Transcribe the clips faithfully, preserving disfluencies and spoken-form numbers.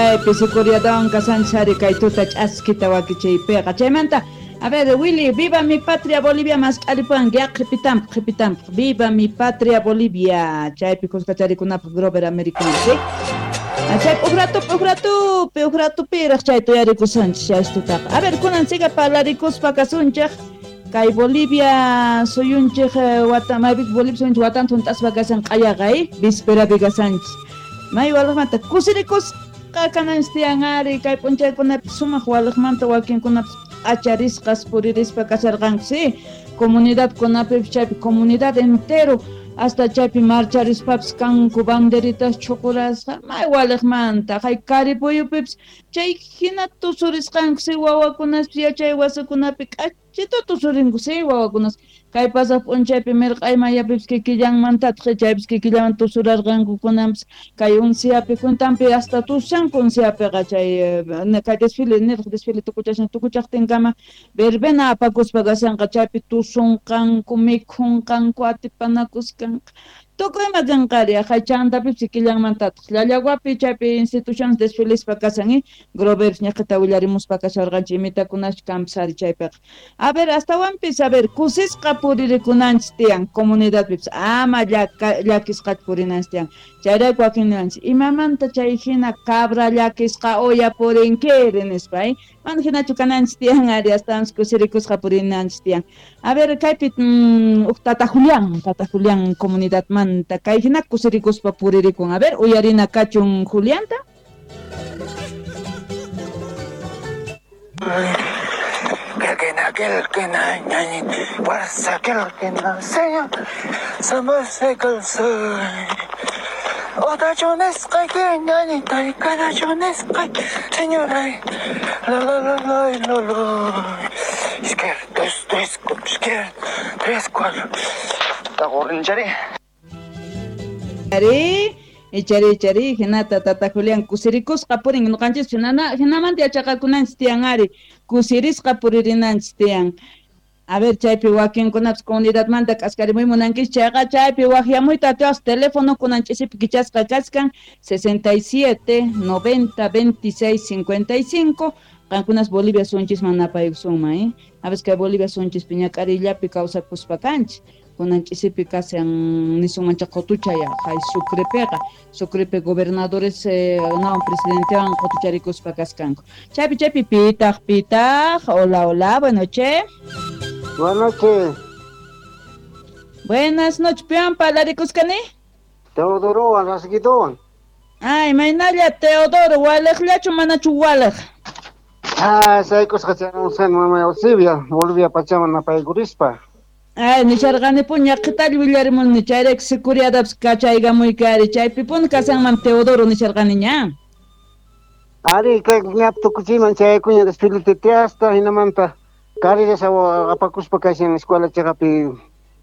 Chaypi sicuriadawan kasanchis ari kay tuta ch'askita wakichiypiqa. Chaymanta, a ver, Willy, viva mi patria Bolivia mask'aripuwanki, ya qhipitanpaq, qhipitanpaq. Viva mi patria Bolivia. Chaypi kuskacharikunapaq Grover Americano, ¿sí? Chay ujratupi, ujratupi, ujratupiraq chay tuyarikusanchis chaystutaqa. A ver, kunan siga parlarikuspa kasunchik. Kay Bolivia suyunchik wata, maypi Bolivia suyunchik watanta hunt'aspa kasan q'ayaqa, eh? Vísperapi kasanchis. May waliqmanta kusirikusqa kananchis tiyan ari, kay p'unchaykunapi sumaq waliqmanta wakinkunapis p'acharisqas puririspa kasharqanku, sí? Comunidadkunapipis chaypi comunidad entero hasta chaypi marcharispapis kanku banderitas chhuqurasqa, may waliqmanta hay Karipuyupipis chay hina tusurisqanku, sí? Wawakunaspis yachay wasikunapi k'achita tusurinku, sí? Wawakunas kay pasaq p'unchaypi mirq'ay mayapipis kikillanmantataq chaypis kikillanman tusurarqanku kunanpis kay unsiapi juntanpi hasta tusanku unsiapiqa chay kay desfile niraq desfile tukuchashan tukuchaqtinkama verbena apakuspa kashanqa chaypi tusunqanku mikhunqanku atipanakuskanqa tukuy ima kanqari hay chantapipis kikillanmantataq Llallaguapi chaypi instituciones desfilispa kasan, eh? Groverpis ñaqita willarimuspa kasharqanchik imitakunash kanpis ari chaypiqa. A ver, astawanpis, a ver, kusisqa puririkunanchis tiyan comunidadpipis ama llakisqachu purinanchis tiyan. Chayrayku wakin ninanchis imamanta chay hina cabra llakisqa uya purinkiri nispa, eh? Mana hinachu kananchis tiyan ari, astawanpis kusirikusqa purinanchis tiyan. A ver, kaypi mm, uj tata Julián, tata Julián comunidadmanta kay hina kusirikuspa puririkun. A ver, uyarina kachun Julianta. Izquierda, dos, tres, izquierda, tres, cuatro. Ari, ichari, ichari, hinata tata Julián kusirikusqa purin ñuqanchis hinana hinamanta yachaqakunanchis tiyan ari, kusirisqa puririnanchis tiyan. A ver, chaypi wakinkunapis comunidadmanta k'askarimuy munankichis chayqa chaypi waqyamuyta atiwaq teléfono kunan ch'isipi kichasqa kachkan sesenta y siete, noventa, veintiséis, cincuenta y cinco. Qankunas Bolivia sunchisman napaykusunman, eh? A veces kay Bolivia sunchispi ñak'arillapi kawsakuspa kanchis. Kunan ch'isipi kasan nisunman chay qutuchaya hay Sucrepiqa, Sucrepi gobernadores eh, nawan presidentewan qutucharikuspa kaskanku. Chaypi chaypi pitaq pitaq, hola hola, buenas noches. Buenas noches. Buenas noches, pian parlarikusqani? Teodorowan Rasguidowan. Ay, maynalla Teodoro, waliqllachu manachu waliq? Ah, saykusqa chayamusqani mamay Eusebia, Bolivia pachaman napaykurispa. Ay, nisharqanipuni ñaqhitalla willarimuni chayrayku sicuriadapis kachaykamuyki chaypipuni kasanman Teodoro nisharqani ña. Ari, kay ñap tukuchiyman chayaykuña desfile titiasta, hinamanta carreras apakuspa kashan escuela chaqapi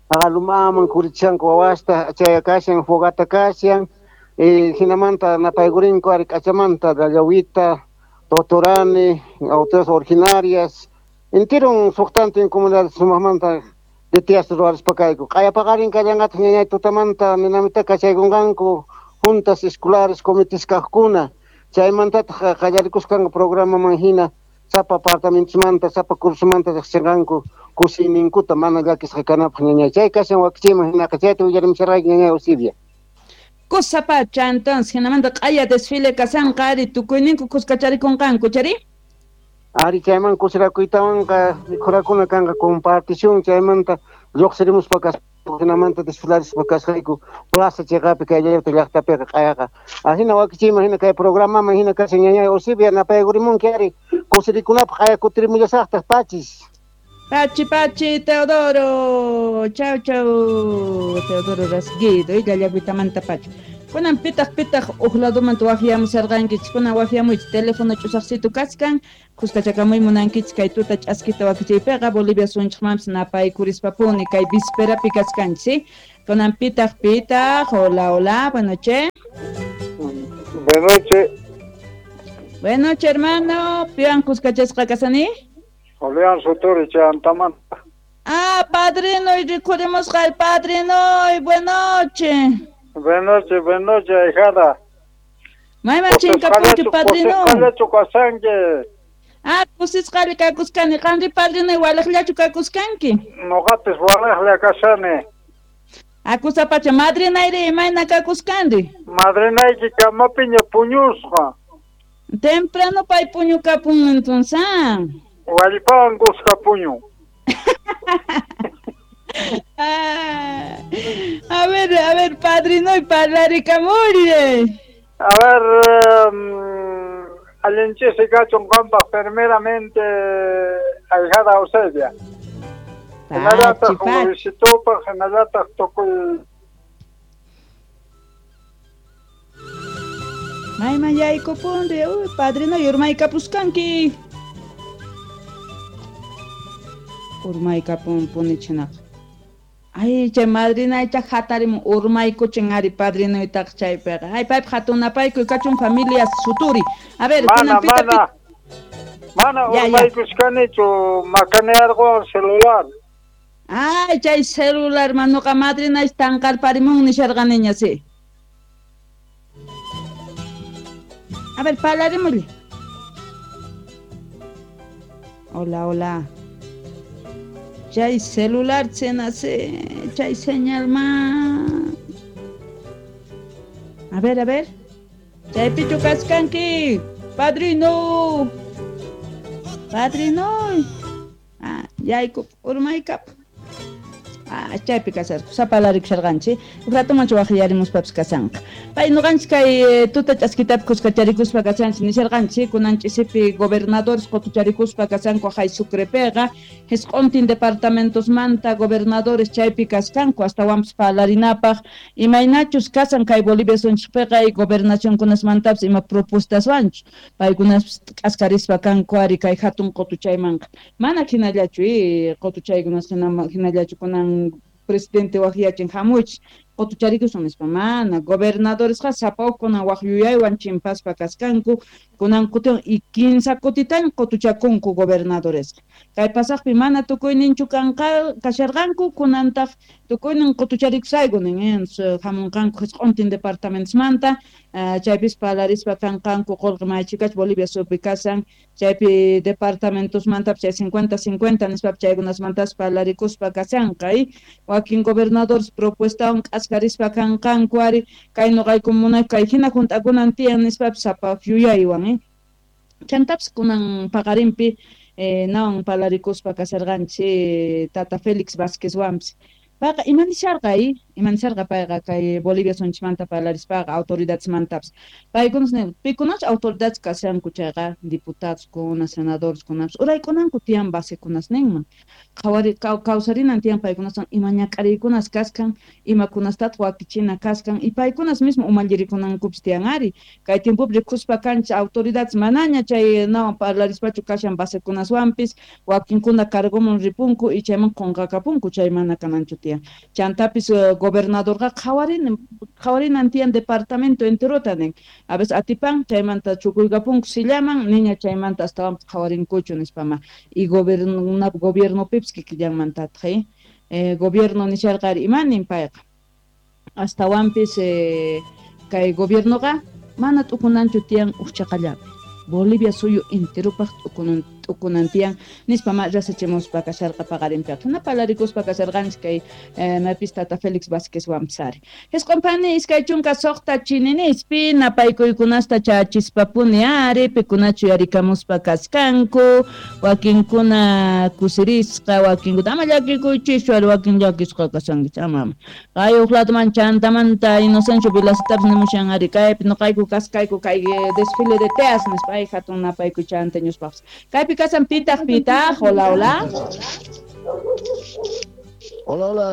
aqalumaman kurichanku wawasta chaya kashan fogata kashan, eh, hinamanta napaykurinku ari k'achamanta Llallawita, Totorani, autoridades originarias, enteron suqtantin comunidades sumaqmanta titiasta ruwarispa kayku. Q'ayapaqarin kallanqataq ñañay tutamanta ninamita kachaykunqanku juntas escolares comités kaqkuna, chaymantataq qallarikusqanku programaman hina sapa apartamentosmanta, sapa cursomanta riqsinqanku kusiyninkuta mana llakisqa kanapaq ñañay. Chay kashan wakichiyman hinaqa chayta willarimusharqayki ñañay Eusebia. Kusapacha entonces hinamanta q'aya desfile kasanqa ari tukuyninku kuskacharikunqanku chari? Ari chayman kusirakuytawanqa mikhurakuna kanqa compartición chaymanta lluqsirimuspa kasqayku hinamanta desfilarispa kasqayku plaza chayqapi kay llaqta llaqtapiqa q'ayaqa. Ahina wakichiyman hina kay programaman hina kashan ñañay Eusebia napaykuриmunki ari kusirikunapaq q'aya kutirimullasaqtaq pachis. Pachi, pachi, Teodoro. Chau, chau, Teodoro Rasguido. Y llallaguitamanta pachi. Kunan pitaq pitaq uj ladomanta waqyamusharqankichik, kunan waqyamuychik teléfono ch'usaqsitu kachkan, kuskachakamuy munankichik kay tuta ch'askita wakichiypiqa Bolivia sunchikmanpis napaykurishpapuni kay vísperapi kachkanchik, ¿sí? Kunan pitaq pitaq, hola, hola, buenas noches. Buenas noches. Buenas noches, hermano. Pian kuskachasqa kasani? Julián Suturi Chantamanta. Ah, padrino, y recurrimos al padrino, y buenas noches. Buenas noches, buenas noches, ahijada. Mayman chinkapunki padrino. Kusisqallachu kasanki. Ah, kusisqalla kakuskani. Qanri padrino walaqllachu kakuskanki. Noqapis walaqlla kashani. Akusapacha madrinayri imayna kakuskanri. Madrinayki kamapiña puñusqa. Temprano pay puñukapun entonces. Wallpawan kuska puñu. Ah, a ver, a ver, padrino y parlarikamuri. A ver, um, allinchisi kachun qanpaq primeramente ahijada Eusebia. Hinallataq Luisitupaq, hinallataq tukuy. Mayman yaykupunri, uy, padrino yurmaykapuskanki. Urmaykapunpunichinaqa. Ay, chay madrinaycha hatarimun urmaykuchin ari padrinoytaqa chaypiqa. Ay, paypaq hatunapaykuy kachun familia Suturi. A ver, mana, pita, mana, mana urmaykushkanichu makanearqon celular. Ay, chay celular manuqa madrinay tanqarparimun nisharqaniña, sí. A ver, parlarémosle. Hola, hola. Chay celular se chay señal más. A ver, a ver. Chay pichu kaskanki. Padrino. Padrino. Ah, yaykup, urmaykap. Ah, chaypi kasarku, sapalarikusharqanchik. Uj ratomanchu waqllarimuspapis kasanqa. Pay nuqanchik kay tuta ch'askitapi kuskacharikuspa kasanchik nisharqanchik, kunan ch'isipi gobernadores qutucharikuspa kasanku hay Sucrepiqa, jisq'untin departamentosmanta gobernadores chaypi kaskanku astawanpis parlarinapaq, imaynachus kasan kay Bolivia sunchikpiqa y gobernacionkunasmantapis ima propuestaswanchu, paykunaspis k'askarispa kanku ari kay hatun qutuchaymanqa. Mana hinallachu y qutuchaykunas hinallachu kunan presidente waqyachin hamuychis qutucharikusun nispa mana gobernadoresqa sapa uj kunan waq yuyaywan chimpaspa kaskanku kunan kutin y kinsa kutitan qutuchakunku gobernadoresqa kay pasaqpi mana tukuyninchu kanqa kasharqanku kunantaq tukuynin qutucharikusayku nin hamunqanku jisq'untin departamentosmanta chaypis parlarispa kanqanku qullqi maychikach Bolivia suyupi kasan chaypi departamentosmantapis chay cincuenta cincuenta nispapis chaykunasmantas parlarikuspa kasanqa y wakin gobernadores propuestawan k'askarispa kanqanku ari kay nuqayku munayku kay hina hunt'akunan tiyan nispapis sapa yuyaywan eh chantapis kunan paqarinpi eh, nawan parlarikuspa kasarqanchik tata Félix Vázquezwanpis payqa imanisharqa y imanisharqa payqa kay Bolivia sunchimanta parlarispaqa autoridadesmantapis paykunas pikunachu autoridades kashanku chayqa diputadoskuna senadoreskunapis uraykunanku tiyan basekunasninman qhawari kawsarinan tiyan paykunaswan ima ñak'ariykunas kaskan imakunastataq wakichina kaskan y paykunas mismo umallirikunankupis tiyan ari kay tiempopi rikuspa kanchik autoridades manaña chay nawan parlarispachu kashan basekunaswanpis wakinkuna cargoman ripunku y chayman qunqakapunku chay mana kananchu tiyan chantapis gobernadorqa qhawarin qhawarinan tiyan departamento enterota nin a veces atipan chaymanta chukuykapunku sillaman niña chaymanta astawanpis qhawarinkuchu nispama y gobierno gobiernopipis kikillanmantataq eh, gobierno nisharqari imanin payqa astawanpis eh, kay gobiernoqa mana t'ukunanchu tiyan uqchaqallapi Bolivia suyu enteropaq t'ukunan t'ukunan tiyan nispa ma rasachimuspa kasharqa paqarinpiqa hina parlarikuspa kasharqanchik kay eh, maypis tata Félix Vázquezwanpis ari jisq'unpani iskay chunka suqta chininispi napaykuykunasta chachispapuni ari pikunachu yarikamuspa kaskanku wakinkuna kusirisqa wakinkuna ama llakikuychischu ari wakin llakisqa kasankichik ama ama kay uq ladoman chantamanta Inocencio Vilasitapis nimushan ari kaypi nuqayku kaskayku kay desfile de teas nispa ay hatun napaykuy chanta ñuspaqpis kaypi kasan pitaq pitaq hola hola hola hola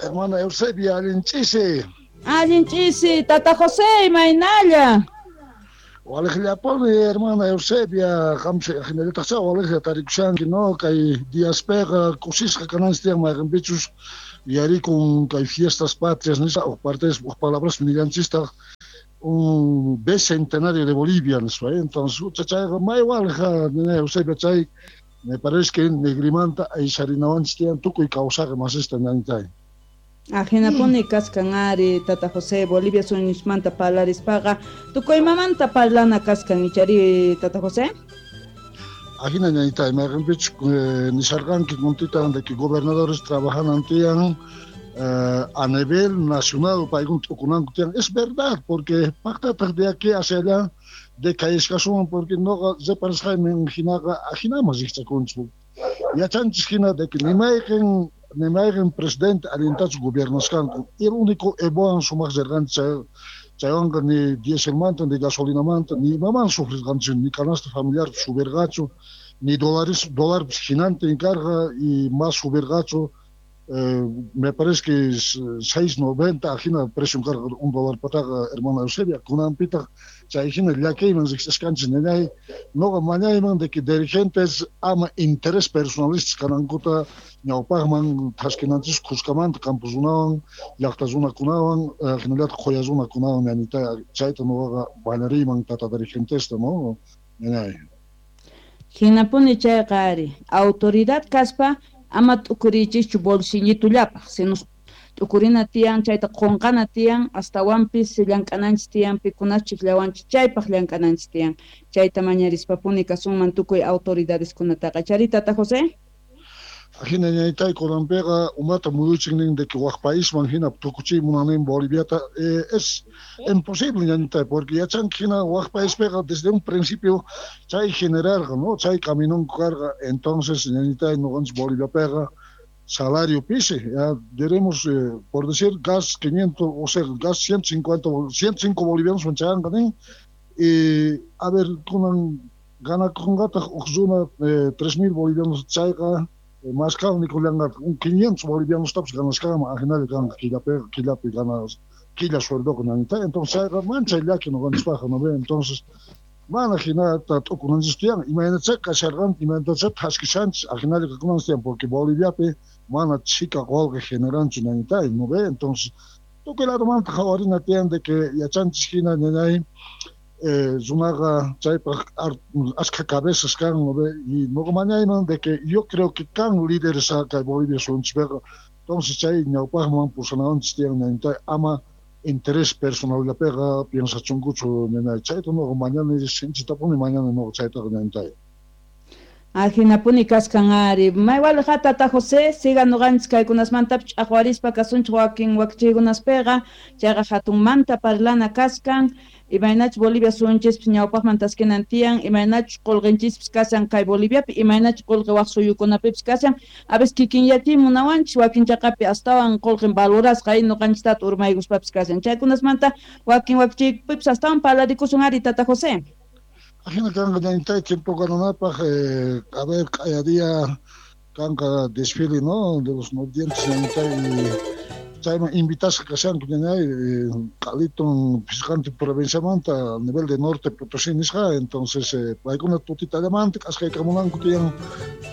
hermana Eusebia allinch'isi allinch'isi tata José imaynalla Walejllapuni hermana Eusebia qamsi hinallataqcha walejlla tarikushanki no kay diaspiqa kusisqa kananchik tiyan mayqinpichus yarikun kay fiestas patrias nispa uq partes uq palabras nillanchistaq un bicentenario de Bolivia, ¿no? Entonces, chayqa may walja Eusebia chay me parece que negrimanta aysarinawanchik tiyan tukuy kawsaqi masista ñañitay. Ajinapuni kaskan ari Tata José, Bolivia suyunismanta parlarispaqa tukuymamanta parlana kaskan ichari Tata José. Ajina ñañitay, mayqinpichus nisharqanki kuntitan de que gobernadores trabajan tiyan eh, a nivel nacional paykuna t'ukunanku tiyan. Es verdad, porque paqtataq de aquí hacia allá de kayashkasunman, porque noqa reparasqayman hinaqa ajinaman riqchakunchik. Yachanchis hina de que nimayqin nimayqin presidente allintachu gobiernasqanku. El único Evoan sumaq rirqanchik chaywanqa ni dieselmanta ni gasolinamanta ni imaman sufrirqanchik, ni canasta familiar subirqachu, ni dólares dólarpis hinantin karqa y más subirqachu. Eh, me parece que es seis noventa ajina precio karqa un dólar pataqa hermana Eusebia, kunanpitaq chay hina llakiyman riqsisqanchik ñañay. Noqa mañayman de que dirigentes ama interés personalistas kanankuta ñawpaqman thaskinanchis khuskamanta campos runawan llaqta runakunawan hinallataq qhuya runakunawan ñañita, chayta noqaqa mañariyman tata dirigentesta, no ñañay. Hinapuni chayqa ari autoridad kaspa ama t'ukuriychischu bolsillitullapaq, sino t'ukurina tiyan, chayta qunqana tiyan, astawanpis llank'ananchis tiyan, pikunachus llawanchis chaypaq llank'ananchis tiyan. Chayta mañarispapuni kasunman tukuy autoridadeskunataqa. Chari Tata José? Ajina ñañitay, kunanpiqa umata muyuchin nin de que wak paisman hina tukuchiy munanin Boliviata. Eh, es imposible ñañitay, porque yachanki hina wak paispiqa desde un principio chay generarqa, no, chay caminonku karqa. Entonces ñañitay, noqanchis Boliviapiqa salario pisi, ya diremos, eh, por decir, gas quinientos, o sea, gas ciento cincuenta, ciento cinco bolivianos chayanqa nin, y a ver, kunan ganakunqataq uj runa eh, tres mil bolivianos chayqa más caro nikullanqa un quinientos bolivianos tapis ganasqanman ajinalla kanqa killapi killapi ganas killa sueldoqa ñañita. Entonces chayqa manchay llaki noqanchispaqqa, no ve. Entonces mana hinata t'ukunanchis tiyan, imaynachá kasharqan, imaynatachá thaskishanchis ajinalla kakunanchis tiyan, porque Boliviapi mana chhika qolqe generanchu ñañitay, no ve. Entonces tukuy ladomanta qhawarina tiyan de que yachanchis hina ñañay, eh, runaqa chaypaq ashkha cabezas kan, no ve. Y noqa mañayman de que yo creo que kan líderes kay Bolivia suyunchispiqa. Entonces chay ñawpaqman pusanawanchis tiyan ñañitay, ama interés personallapiqa piensachunkuchu ñañay. Chayta noqa mañana sinchitapuni mañana noqa chaytaqa ñañitay. Ajinapuni kaskan ari. Maywalqa Tata José, siga noqanchis kaykunasmantapis ch'aqwarispa kasunchik wakin wakichiykunaspiqa, chayqa hatunmanta parlana kaskan, imaynachus Bolivia suyunchispis ñawpaqman taskinan tiyan, imaynachus qullqinchispis kashan kay Boliviapi, imaynachus qullqi waq suyukunapipis kashan, a veces kikinyachiy munawanchis wakin chaqapi astawan qullqin valorasqa y noqanchistata urmaykuspapis kashan. Chaykunasmanta wakin wakichiypipis astawan parlarikusun ari Tata José. Ajina kanqa ñañitay tiempo gananapaq, eh, a ver, q'aya día kanqa desfile, no, de los nodientes ñañitay, y chayman invitasqa kashanku ñañay, q'aliton pisqanti provinciamanta a nivel de norte Potosí nisqa. Entonces eh, paykuna tutitallamanta k'asqaykamunanku tiyan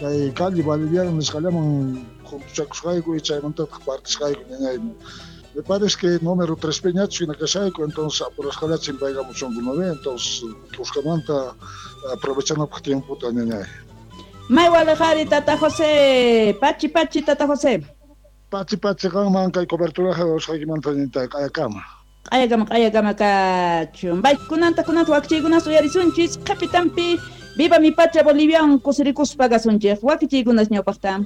kay calle Boliviana nisqallaman juntuchakusqayku y chaymantataq partisqayku ñañay. Me parece que número tres peñachu hina kashayku, entonces apurasqallachin paykamuchunku, ¿no ve? Entonces kuskamanta aprovechanapaq tiempota ñañay. Maywalaqari Tata José, pachi pachi Tata José. Pachi pachi qanman kay coberturaqa usqaykimanta ñañitay, q'ayakama. Q'ayakama, q'ayakama kachun. Bay kunanta kunanta wakichiykunas uyarisunchis, qhipitanpi viva mi patria Bolivian kusirikuspa kasunchik, wakichiykunas ñawpaqta.